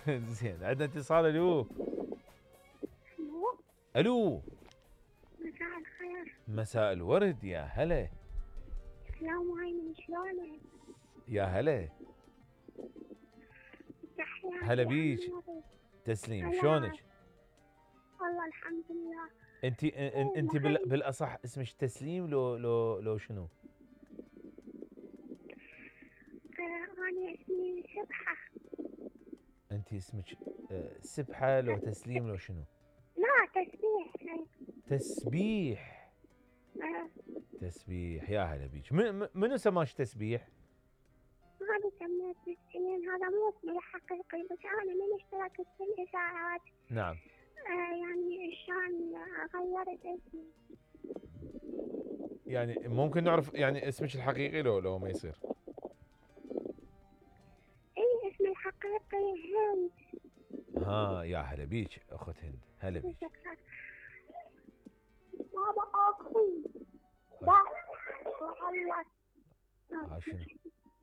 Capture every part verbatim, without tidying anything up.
زين، عندنا اتصال. الو الو الو مساء الخير. مساء الورد، يا هلا. السلام عليكم، شلونك؟ يا هلا. تحياتي. هلا بيك. تسليم، شلونك؟ والله الحمد لله. انت انت بالاصح اسمك تسليم لو لو لو شنو؟ انا اسمي سبحة. انت اسمك سبحة لو تسليم لو شنو؟ لا، تسبيح. تسبيح. أه. تسبيح، يا هلا بيك. منو سماش تسبيح؟ هذا سميت بالسنين، هذا مو اسمي الحقيقي، بس انا من اشتركت في الاذاعات. نعم. آه يعني عشان غيرت اسمي. يعني ممكن نعرف يعني اسمك الحقيقي لو لو ما يصير؟ اي اسمي الحقيقي هند. ها، يا هلا بيك اخت هند، هلا بيك. بابا اخوي لا والله. ها شنو؟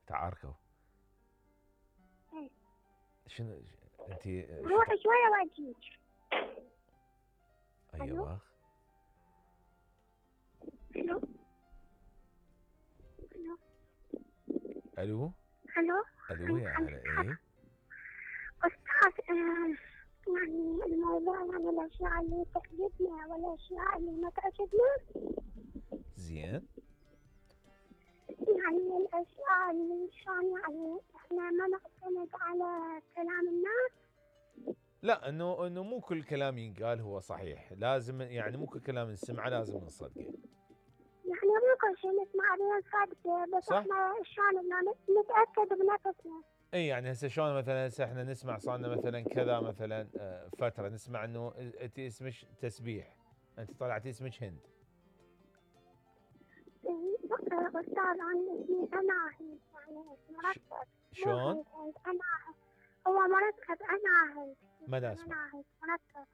تعاركوا؟ ايه. شنو انت؟ روحي شويه واجيك. ايوه. الو الو الو الو الو يا هلا. ايه استاذ، آه يعني الموضوع يعني الاشياء اللي تعجبنا والاشياء اللي ما تعجبنا. زين. يعني الاشياء اللي شلون يعني احنا ما نعتمد على كلام الناس. لا، انه انه مو كل كلام ينقال هو صحيح، لازم يعني مو كل كلام نسمعه لازم نصدقه. يعني مو كل شيء نسمع به نصدقه، بس صح؟ احنا شلون انه نتاكد بنفسنا. اي يعني هسه شلون مثلا هسه احنا نسمع صارنا مثلا كذا مثلا فتره نسمع انه انت اسمك تسبيح، انت طلعتي اسمك هند. استاذ انا اسمي اناهي، يعني مركب. شلون؟ اناهي هو مركب. اناهي ما دا اسمع. اناهي مركب،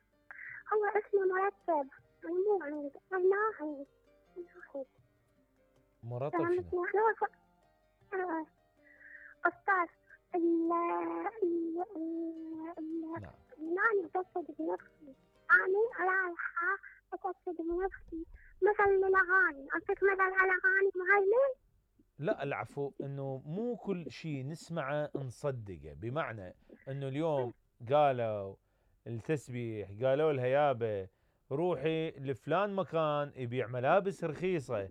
هو اسمي مركب مو عند. اناهي اناهي مرتب شنو؟ استاذ ال ال ال نعم. أنا أتأكد بنفسي، أنا رايحة أتأكد بنفسي. مثل الأغاني، أعطيك مثل على أغاني مهيمن. لا العفو، انه مو كل شيء نسمعه نصدقه، بمعنى انه اليوم قالوا التسبيح قالوا لها يابا روحي لفلان مكان يبيع ملابس رخيصه،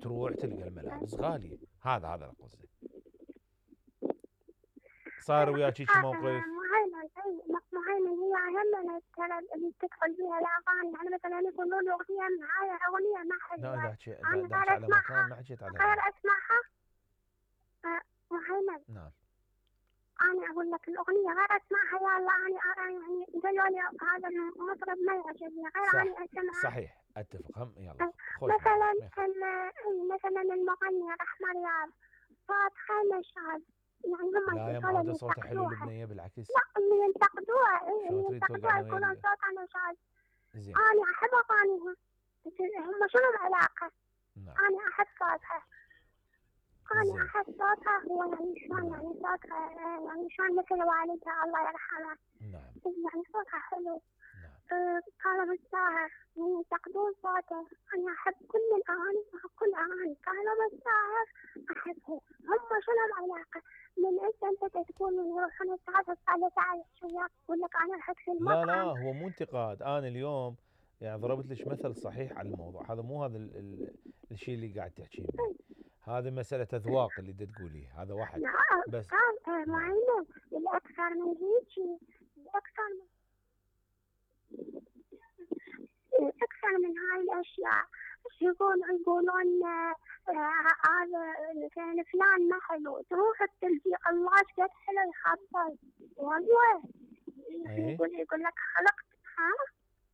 تروح تلقى الملابس غاليه. هذا هذا القصد. صار وياك هيك موقف؟ مهيمن مهيمن هي أهم اللي تدخل فيها الأغاني، يعني مثلا يقولون أغنية معايا أغنية ما حلوة. لا احكي احكي على مكان، ما حكيت على غير أسمعها. مهيمن. نعم. أنا أقول لك الأغنية غير أسمعها، يلا أنا يعني قالوا لي هذا المطرب ما يعجبني غير أنا أسمعها. صحيح، أتفق. هم يلا مثلا مثلا المغني رحمة رياض صوتها نشاز، يعني هم لا يا ما هذا صوته حلو لبنية بالعكس. لا اللي ينتقدوها اللي ينتقدوها يقولون يقولون صوتها نشاز. زين. أنا أحب أغانيها، هم شنو العلاقة؟ نعم. أنا أحب صوتها. أنا أحس صوتها هو يعني شلون يعني صوتها يعني شلون مثل والدها الله يرحمها. نعم. يعني صوتها حلو. نعم. كانوا بالساهر ينتقدون صوته. أنا أحب كل الأغاني، أحب كل أغاني كانوا بالساهر أحبها. هم شنو العلاقة؟ من أنت أنت تقول يروحون يتعرف على تعال شوية يقول لك أنا أحب المطعم. لا لا هو مو انتقاد، أنا اليوم يعني ضربت لك مثل صحيح على الموضوع هذا، مو هذا ال ال الشيء اللي قاعد تحكيه به. هذا مسألة أذواق اللي تقوليه، هذا واحد. بس معينة الأكثر من هيك، الأكثر من الأكثر من هاي الأشياء. يقولون يقولون هذا كان فلان ما حلو، تروح التلفيق الله قد حلو يخبل والله. يقول يقول لك خلقت. ها؟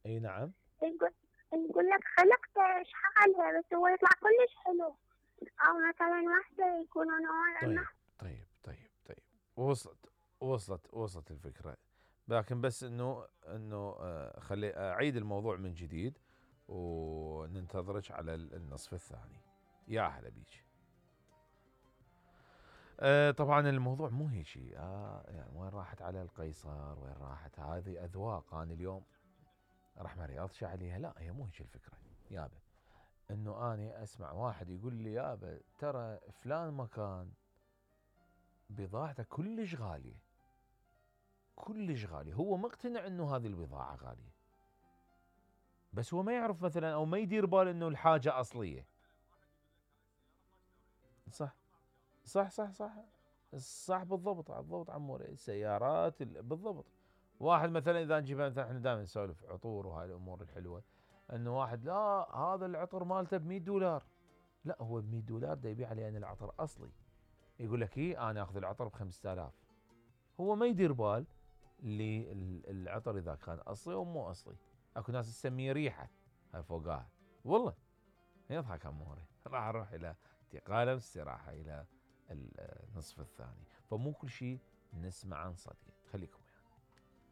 اي نعم. يقول يقول لك خلقت شحالها بس هو يطلع كلش حلو. أو مثلا واحدة يقولون طيب طيب طيب طيب وصلت وصلت وصلت الفكرة، لكن بس انه انه آه خلي اعيد الموضوع من جديد وننتظرك على النصف الثاني. يا هلا بيك. آه طبعا الموضوع مو هيك شيء. آه يعني وين راحت على القيصر، وين راحت هذه اذواق. انا اليوم راح ما رياضش عليها، لا هي مو هيك الفكره يابا. انه اني اسمع واحد يقول لي يابا ترى فلان مكان بضاعته كلش غاليه، كلش غاليه، هو مقتنع انه هذه البضاعه غاليه، بس هو ما يعرف مثلا او ما يدير بال انه الحاجه اصليه. صح صح صح صح صح بالضبط بالضبط عموري. السيارات ال- بالضبط. واحد مثلا اذا نجيب مثلا، احنا دائما نسولف عطور وهاي الامور الحلوه، انه واحد لا هذا العطر مالته ب مية دولار، لا هو ب مية دولار دا يبيع علي انا العطر اصلي، يقول لك اي انا اخذ العطر ب خمسة آلاف، هو ما يدير بال للعطر اذا كان اصلي او مو اصلي. اكو ناس تسميه ريحه هاي فوقاها، والله يضحك عموري. راح اروح الى انتقاله واستراحه الى النصف الثاني. فمو كل شيء نسمع عن صديق. خليكم